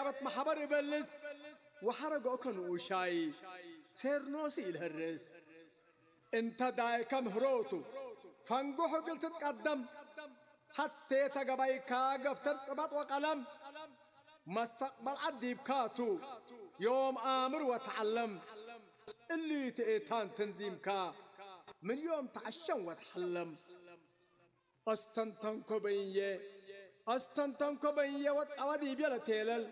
ኣበት ማሕበር ይበልስ፣ ወሓረጎ ከንኡሻይ ሴርኖሲ ይልህርስ። እንተ ዳይከ ምህሮቱ ፈንጉሕ እግል ትትቀደም፣ ሓቴ ተገባይካ ገፍተር ጽባጥ ወቀለም፣ መስተቅበል ዓዲብካቱ ዮም ኣምር ወተዓለም። እሊ ትእታን ተንዚምካ ምን ዮም ተዓሸም ወተሐለም። ኣስተንተንኮ በይንየ፣ ኣስተንተንኮ በይንየ ወትቃዋ ዲብየ ለቴለል።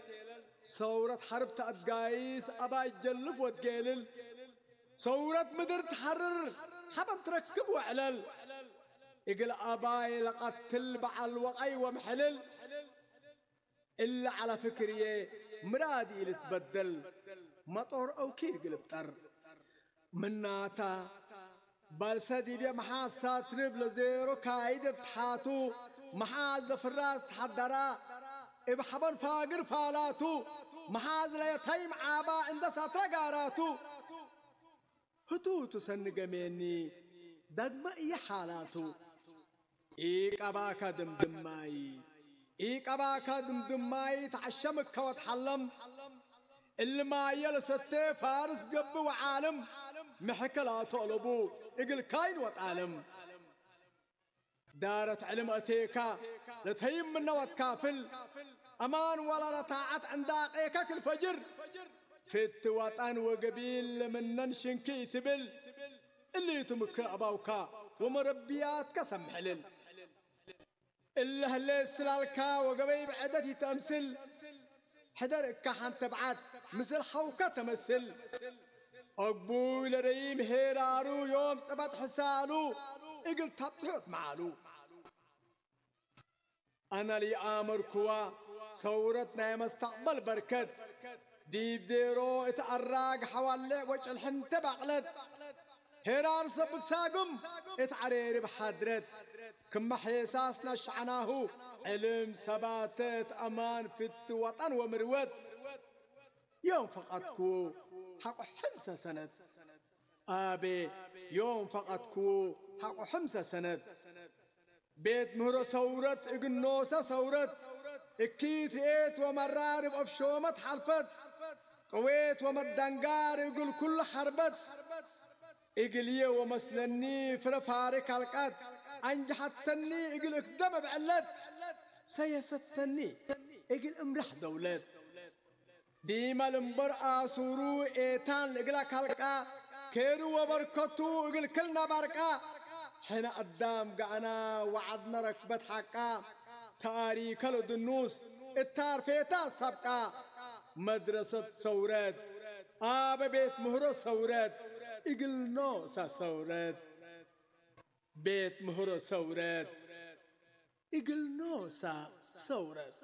ሰውረት ሐርብ ተኣድጋይስ ኣባይ ጀልፍ ወትጌልል። ሰውረት ምድር ትሐርር ሐበን ትረክብ ወዕለል። እግል ኣባይ ለቀትል በዓል ወቓይ ወምሕልል። እለ ዐለ ፍክርየ ምራድ ኢልትበደል፣ መጦር አውኪር ግልብጠር። ምናታ፣ ባልሰ ዲብየ መሓዝ ሳትርብ ለዜሮ ካይድ እብ ተሓቱ፣ መሓዝ ለፍራስ ተሓደራ፣ እብ ሐበን ፋግር ፋላቱ፣ መሓዝ ለየተይም ዓባ እንደ ሳትረ ጋራቱ። ህቱ ህቱ ሰኒ ገሜኒ፣ ዳግመ እየ ሓላቱ። ኢቀባካ ድምድማይ፣ ኢቀባካ ድምድማይ ተዓሸምከ ወትሓለም። እሊ ማየ ለሰቴ ፋርስ ገብእ ወዓልም፣ ምሕከ ላተቅለቡ እግል ካይን ወጣልም። ዳረት ዕልም እቴካ ለተይም ምነ ወትካፍል፣ አማን ወላ ለታዓት ዕንዳቄከ ክልፈጅር፣ ፍቲ ወጠን ወገቢል ለምነን ሽንኪ ኢትብል፣ እሊ ቱ ምክር አባውካ ወመረብያትከ ሰምሕልል። እለ ህሌ ስላልካ ወገበይ ብዕደት ይተምስል፣ ሕደር እካ ሐንተ ብዓት ምስል ሐውከ ተመስል። አግቡይ ለረይም ሄራሩ ዮም ጸባጥ ሕሳሉ እግል ታብትሑት መዓሉ። አነ ለይአመርኩዋ ሰውረት ናይ መስተቅበል በርከት፣ ዲብ ዜሮ እት አራግ ሐዋሌዕ ወጭልሕንተ ባቅለት፣ ሄራር ሰብት ሳግም እት ዐሬርብ ሓድረት፣ ክመ ሔሳስ ነሽዐናሁ ዕልም ሰባተት አማን ፍቲ ወጠን ወምርወት። ዮም ፈቀድኩ ሐቆ ሕምሰ ሰነት፣ አቤ ዮም ፈቀድኩ ሐቆ ሕምሰ ሰነት። ቤት ምህሮ ሰውረት እግል ኖሰ ሰውረት፣ እኪት ርኤት ወመራር እብ አፍሾመት ሐልፈት፣ ቅዌት ወመደንጋር እግል ኩሉ ሐርበት፣ እግልዬ ወመስለኒ ፍረ ፋሪ ካልቃት፣ አንጅሐተኒ እግል እክደም እብ ዕለት፣ ሰየሰተኒ እግል እምራሕ ደውለት። ዲመ ልምበር አሱሩ ኤታን እግላ ካልቃ፣ ኬሩ ወበርከቱ እግል ክልና ባርቃ። ሕነ አዳም ገአና ወዐድነ ረክበት ሐቃ፣ ተአሪከ ለድኑስ እታርፌታ ሳብቃ። መድረሰት ሰውረት አበ ቤት ምህሮ ሰውረት እግል ኖሳ ሰውረት። ቤት ምህሮ ሰውረት እግል ኖሳ ሰውረት።